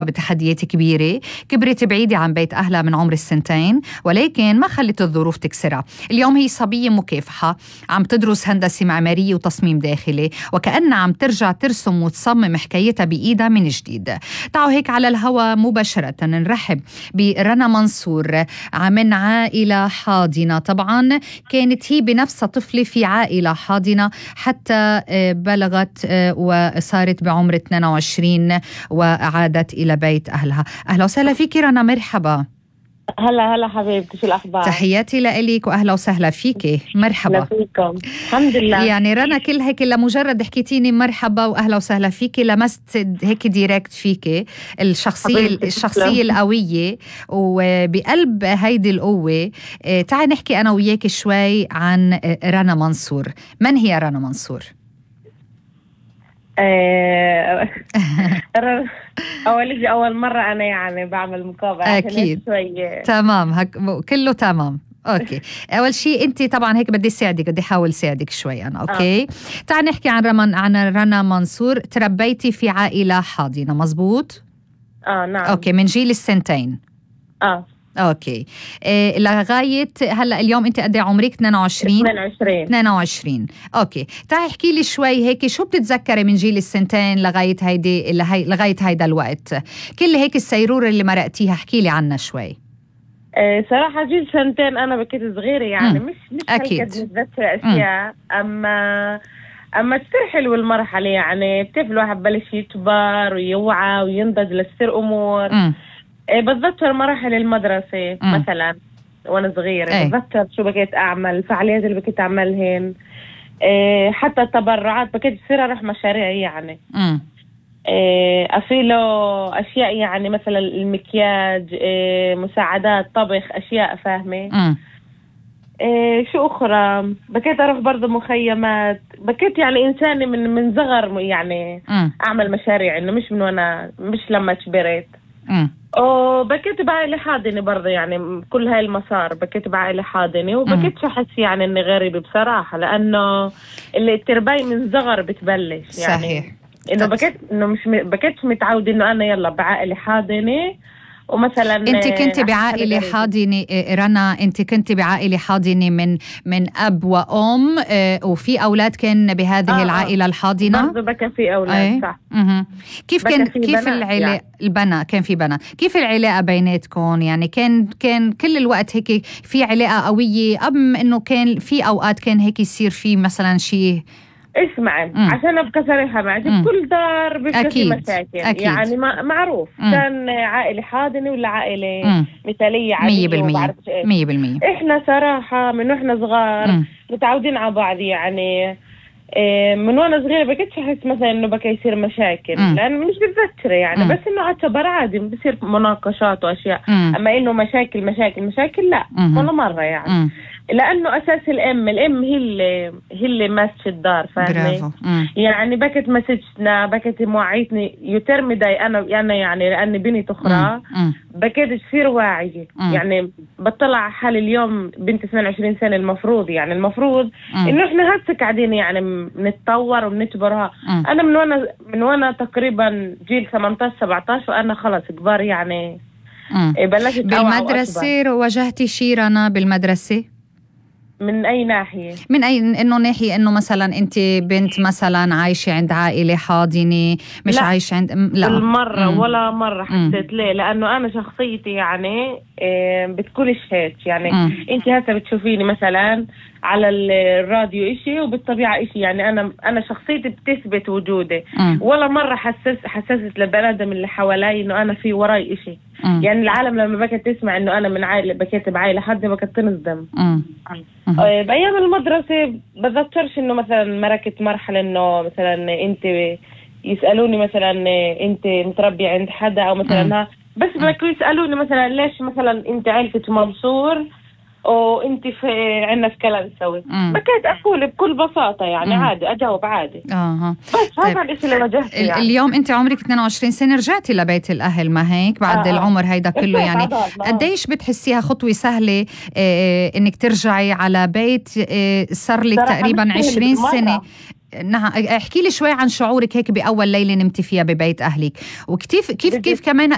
بتحديات كبيرة، كبرت بعيدة عن بيت أهلها من عمر السنتين، ولكن ما خلت الظروف تكسرها. اليوم هي صبية مكافحة عم تدرس هندسة معمارية وتصميم داخلي، وكأنها عم ترجع ترسم وتصمم حكايتها بإيدها من جديد. تعالوا هيك على الهواء مباشرة نرحب برنا منصور من عائلة حاضنة. طبعا كانت هي بنفسها طفلة في عائلة حاضنة حتى بلغت وصارت بعمر 22 وعادت إلى بيت أهلها. أهلا وسهلا فيك رنا، مرحبا. هلا حبيبتي، شو الأخبار؟ تحياتي لإلك وأهلا وسهلا فيك. مرحبا. فيكم. الحمد لله. يعني رنا كل هيك لمجرد حكيتيني مرحبا وأهلا وسهلا فيك لمست هيك ديريكت فيك الشخصية القوية، وبقلب هيدي القوة تعي نحكي أنا وياك شوي عن رنا منصور. من هي رنا منصور؟ أول مرة أنا يعني بعمل مقابلة. أكيد. تمام، كله تمام. أوكي. أول شيء أنت طبعا هيك بدي ساعدك، بدي أحاول ساعدك شوي أنا. أوكي. تعال نحكي عن رنا منصور. تربيتي في عائلة حاضنة مزبوط؟ نعم. أوكي، من جيل السنتين. اوكي. لغايه هلا اليوم انت قد ايه عمرك؟ 22. اوكي. تعي احكي لي شوي هيك شو بتتذكري من جيل السنتين لغايه هيدا الوقت، كل هيك السيروره اللي مرقتيها، احكي لي عنها شوي. صراحه جيل سنتين انا بكيت صغيره يعني مش اكيد متذكره اشياء. اما كثير حلوه المرحله، يعني بتعرف الواحد بلش يكبر ويوعى وينضج لتصير امور. بتذكر مراحل المدرسة مثلا وانا صغيرة. بتذكر شو بكيت اعمل، الفعاليات اللي بكيت اعملهن، حتى التبرعات بكيت تصير اروح مشاريع يعني. افيلو اشياء يعني مثلا المكياج، مساعدات طبخ، اشياء فاهمة. شو اخرى، بكيت اروح برضو مخيمات. بكيت يعني انساني من صغر يعني اعمل مشاريع، انه مش لما كبرت. وبكيت بعائلة حاضنة برضه، يعني كل هاي المسار بكيت بعائلة حاضنة، وبكيت أحس يعني إني غريبة بصراحة، لأنه اللي التربية من صغر بتبلش يعني. صحيح. إنه بكيت متعودة إنه أنا يلا بعائلة حاضنة. ومثلا انت كنت بعائله حاضنه رنا، انت كنت بعائله حاضنه من اب وام، وفي اولاد كان بهذه العائله الحاضنه برضه بكى في اولاد. صح. كيف العلاقه يعني. البنات كان في بنات، كيف العلاقه بيناتكم؟ يعني كان كل الوقت هيك في علاقه قويه، ام انه كان في اوقات كان هيك يصير في مثلا شيء؟ اسمعي عشان ابقى صريحه معك، كل دار بيبقى في مشاكل. أكيد. يعني معروف كان عائله حاضنه ولا عائله مثاليه عاديه 100%. احنا صراحه من واحنا صغار متعودين على بعض يعني. من وانا صغيره بكيتش احس مثلا انه بكى يصير مشاكل، لانه مش بتذكره يعني. بس انه اعتبر عادي بصير مناقشات واشياء. اما انه مشاكل لا ولا مره يعني. لانه اساس الام هي اللي ماسكه الدار، فاهمه؟ يعني بكت مسجتنا، بكت موعيتني يترمدي انا يعني لاني بنت اخرى. بكيت تصير واعيه يعني. بطلع على حالي اليوم بنت 22 سنه، المفروض انه احنا هسه قاعدين يعني بنتطور وبنكبرها. انا من وانا تقريبا جيل 18-17 وانا خلص كبار يعني. بلشت بالمدرسه واجهتي شي رنا بالمدرسه؟ من أي ناحية؟ من أي ناحية؟ إنه مثلا أنت بنت مثلا عايشة عند عائلة حاضنة، مش لا. عايشة عند لا بالمرة ولا مرة حسيت. ليه؟ لأنه أنا شخصيتي يعني بتكونش هيك يعني. أنت هسه بتشوفيني مثلا على الراديو إشي وبالطبيعة إشي يعني. أنا شخصيتي بتثبت وجودي. ولا مرة حسست للبنادم اللي حوالي إنه أنا في وراي إشي. يعني العالم لما بكت تسمع إنه أنا من عائلة، بكيت بعائلة حد بكت تنصدم. بأيام المدرسة بتذكرش إنه مثلا مركت مرحلة إنه مثلا أنت يسألوني مثلا أنت متربية عند حدا أو مثلا بس بكوا يسألوني مثلا ليش مثلا أنت عائلتك منصور وانت في عنا في كلنسوي. بكيت اقول بكل بساطه يعني عادي، اجاوب عادي. بس هذا الشيء اللي واجهته يعني. اليوم انت عمرك 22 سنه، رجعتي لبيت الاهل ما هيك بعد العمر هيدا كله يعني. قديش بتحسيها خطوه سهله انك ترجعي على بيت صار لك تقريبا 20 سنه؟ نعم، احكي لي شوي عن شعورك هيك بأول ليلة نمتي فيها ببيت أهلك، وكيف كمان